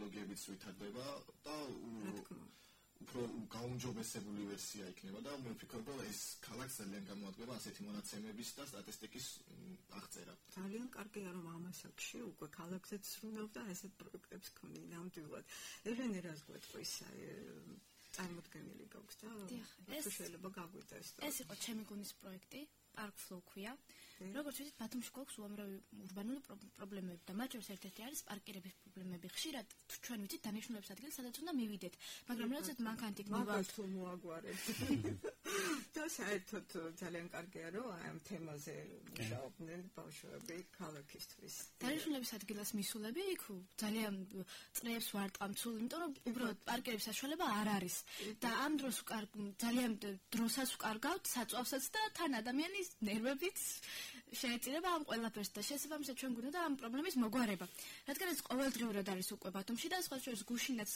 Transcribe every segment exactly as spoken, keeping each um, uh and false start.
ტექნოლოგიებიც ვითარდება და უფრო გაუმჯობესებული ვერსია იქნება და მე ვფიქრობ, რომ ეს ქალაქს ძალიან გამოადგება ასეთი მონაცემების და სტატისტიკის აღწერა. ძალიან კარგია, რომ ამასაკში უკვე ქალაქზეც სრულობ და ასეთ პროექტებს ქონი ნამდვილად. ელენე რას გვეტყვის წარმოდგენილი გაქვს და ეს შეიძლება გაგვიტეს. ეს იყო ჩემი გუნის პროექტი, Park Flow ქვია. როგორც ვიცით, ბათუმში გვაქვს უამრავი ურბანული პრობლემები და მათ შორის ერთ-ერთი არის პარკირების პრობლემები. ხშირად ჩვენ ვიცით დანიშნულების ადგილი, სადაც უნდა მივიდეთ, მაგრამ როდესაც მანქანით მივავთ, მოაგვარებთ. და საერთოდ ძალიან კარგია, რომ ამ თემაზე მუშაობდნენ ბავშვები ქალაქისთვის. დანიშნულების ადგილას მისულები იქ ძალიან წრეებს ვარტყამცულ, იმიტომ რომ უბრალოდ პარკირების საშუალება არ არის და ამ დროს ძალიან დროსაც ვკარგავთ, საწვავსაც და თან ადამიანის ნერვებიც შეეწირება ამ ყველაფერს და შესაბამისად ჩვენ გვინდა ამ პრობლემის მოგვარება. რადგან ეს ყოველდღიურად არის უკვე ბათუმში და სხვა შორის გუშინაც,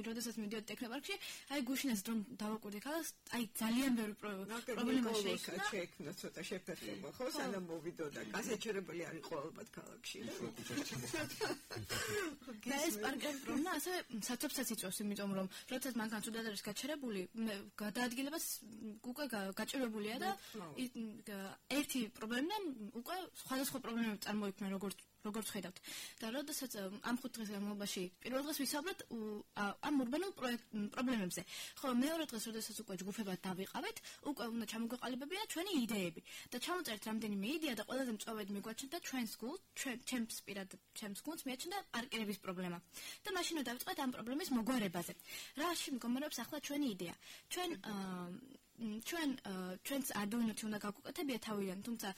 როდესაც მივიდოდი ტექნოპარკში, აი გუშინაც რომ დავაკვირდი ქალაქს, აი ძალიან ბევრი პრობლემა შეექმნა. შეექმნა ცოტა შეფერხება, ხო, სანამ მოვიდოდა. გასაჩერებელი არ იყო ალბათ ქალაქში. და ეს პარკინგის პრობლემა ასევე საცობსაც იწვევს, იმიტომ რომ როდესაც მანქანა თუდად არის გაჩერებული, გადაადგილებას უკვე გაჭირებულია და ერთი პრობლემიდან უკვე სხვადასხვა პრობლემები წარმოიქმნა, როგორც როგორც ხედავთ. და როდესაც ამ ხუთ დღის განმავლობაში პირველ დღეს ვისაუბრეთ ამ ურბანულ პრობლემებზე. ხო, მეორე დღეს როდესაც უკვე ჯგუფებად დავიყავეთ, უკვე უნდა ჩამოგვეყალიბებინა ჩვენი იდეები და ჩამოწერთ რამდენიმე იდეა და ყველაზე მწვავედ მიგვაჩნდა ჩვენს გულს, ჩემს პირად ჩემს გულს მიაჩნდა პარკირების პრობლემა. და მაშინ დავიწყეთ ამ პრობლემის მოგვარებაზე. რაში მდგომარეობს ახლა ჩვენი იდეა? ჩვენ ჩვენ ჩვენს არდუინოთი უნდა გავუკეთებია თავიდან, თუმცა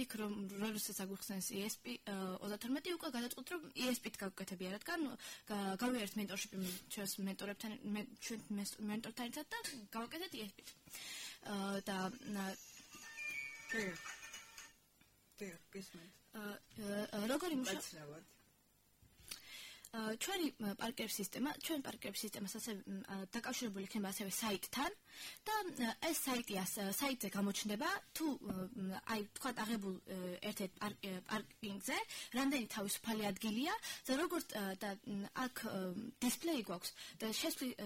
იქ რომ როდესაც აგვიხსენეს ი ეს პი ოცდათორმეტი უკვე გადაწყვეტ რომ ი ეს პი-თ გავუკეთებია, რადგან გავიარეთ მენტორშიპი ჩვენს მენტორებთან ჩვენ მენტორთან ერთად და გავუკეთეთ ი ეს პი-თ. და როგორი მუშაობს ჩვენი პარკინგის სისტემა, ჩვენ პარკინგის სისტემას ასევე დაკავშირებული იქნება ასევე საიტთან და ეს საიტი საიტზე გამოჩნდება თუ აი თქვა აღებულ ერთ-ერთ პარკინგზე რამდენი თავისუფალი ადგილია და როგორც და აქ დისპლეი გვაქვს და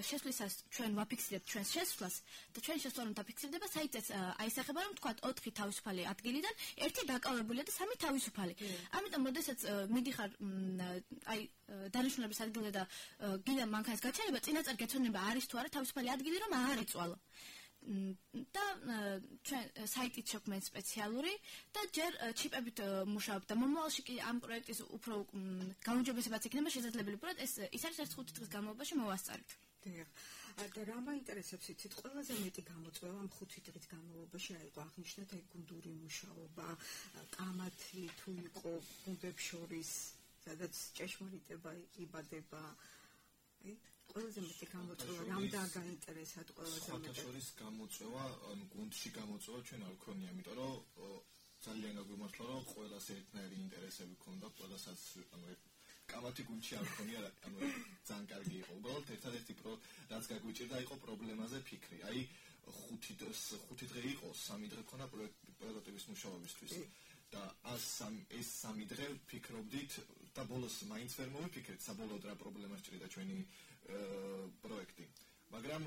შესვლისას ჩვენ ვაფიქსირებთ ჩვენს შესვლას და ჩვენ შესვლა რომ დაფიქსირდება საიტზეც აისახება რომ თქვა ოთხი თავისუფალი ადგილიდან ერთი დაკავებულია და სამი თავისუფალი. ამიტომ როდესაც მიდიხარ აი დანიშნულების ადგილზე და გინდა მანქანის გაჩერება, წინაწარ გეცოდება არის თუ არა თავისუფალი ადგილი რომ არ იწვალო. და ჩვენ საიტით შექმნით სპეციალური და ჯერ ჩიპებით მუშაობთ და მომავალში კი ამ პროექტის უფრო გაუმჯობესებაც იქნება შესაძლებელი, უბრალოდ ეს ის არის ერთ ხუთი დღის განმავლობაში მოვასწარეთ. და რა მაინტერესებს იცით, ყველაზე მეტი გამოწვევა ამ ხუთი დღის განმავლობაში რა იყო აღნიშნეთ აი გუნდური მუშაობა, კამათი თუ იყო გუნდებს შორის სადაც ჭეშმარიტება იბადება. აი, ყველაზე მეტი გამოწვევა რამ დააგაინტერესათ ყველაზე მეტი. სხვათა შორის გამოწვევა, ანუ გუნდში გამოწვევა ჩვენ არ ქონია, იმიტომ რომ ძალიან გაგვიმართლა, რომ ყველას ერთნაირი ინტერესები ქონდა, ყველასაც ანუ კამათი გუნდში არ ქონია, ანუ ძალიან კარგი იყო. უბრალოდ ერთადერთი რაც გაგვიჭირდა იყო პრობლემაზე ფიქრი. აი, ხუთი ხუთი დღე იყო, სამი დღე ქონა პროტოტიპის მუშაობისთვის. და ეს სამი დღე ფიქრობდით და ბოლოს მაინც ვერ მოვიფიქრეთ საბოლოოდ რა პრობლემა სჭირდა ჩვენი პროექტი. მაგრამ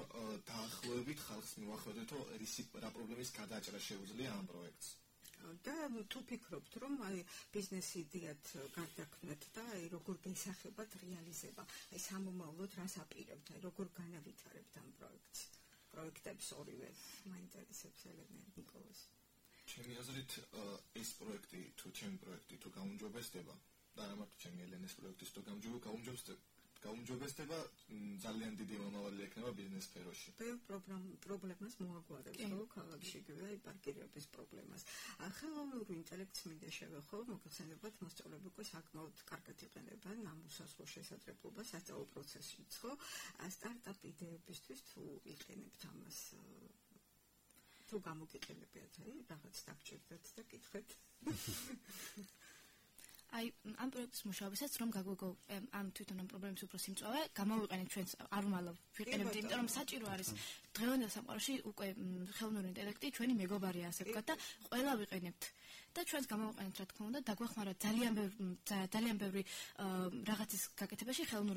დაახლოებით ხალხს მივახვედრეთ, რომ რა პრობლემის გადაჭრა შეუძლია ამ პროექტს. და თუ ფიქრობთ, რომ აი ბიზნეს იდეათ გარდაქმნათ და აი როგორ გესახებათ რეალიზება, აი სამომავლოდ რას აპირებთ, აი როგორ განავითარებთ ამ პროექტს. პროექტებს ორივე მაინტერესებს ელენე ნიკოლას. ჩემი აზრით ეს პროექტი თუ ჩემი პროექტი თუ გაუმჯობესდება და არა მარტო ჩემი ელენეს პროექტის თუ გაუმჯობესდება ძალიან დიდი მომავალი ექნება ბიზნეს სფეროში. ბევრ პრობლემას მოაგვარებს ხო ქალაქში აი პარკირების პრობლემას. ხელოვნური ინტელექტს მინდა შევეხო, მოგხსენებათ მოსწავლეები უკვე საკმაოდ კარგად იყენებენ ამ უსასრულო შესაძლებლობას სასწავლო პროცესშიც ხო? სტარტაპ იდეებისთვის თუ იყენებთ ამას თუ გამოგიყენებიათ, აი, რაღაც დაგჭირდეთ და კითხეთ. აი, ამ პროექტის მუშაობისას რომ გაგვიგო ამ თვითონ ამ პრობლემის უფრო სიმწვავე, გამოვიყენეთ ჩვენს არუმალო ვიყენებთ, იმიტომ რომ საჭირო არის დღევანდელ სამყაროში უკვე ხელოვნური ინტელექტი ჩვენი მეგობარია, ასე ვთქვათ და ყველა ვიყენებთ. და ჩვენს გამოვიყენეთ, რა თქმა უნდა, დაგვეხმარა ძალიან ძალიან ბევრი რაღაცის გაკეთებაში ხელოვნური